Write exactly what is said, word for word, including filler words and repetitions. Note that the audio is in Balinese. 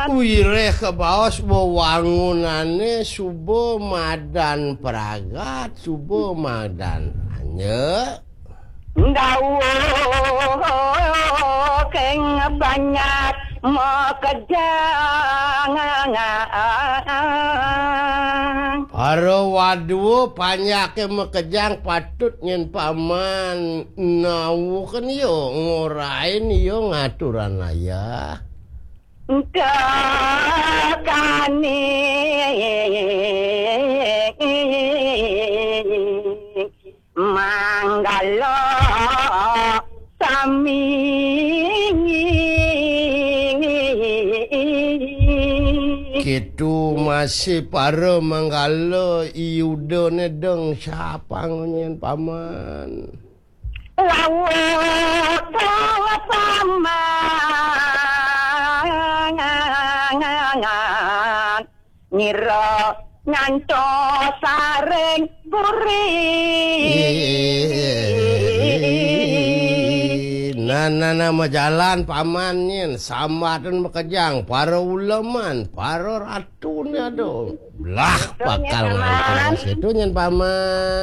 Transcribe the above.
Wiréh kabaos wewangunané suba madan pragat, suba madan anyek. Ndawuh keng banyak makejang. Para wadua panjaké makejang patut nyén paman nawuhken ya, ngorahin ya ngaturan ayah. Tekani manggala sami. Kitu masih para manggala iyudané deng sapang nyén paman. Lawuh paman ngira ngantos saring puri. Nah, nah, nah, majalan paman nyén, sambatan makejang, para uleman, para ratuné, aduh. Lah, bakal ngantos situ nyén paman.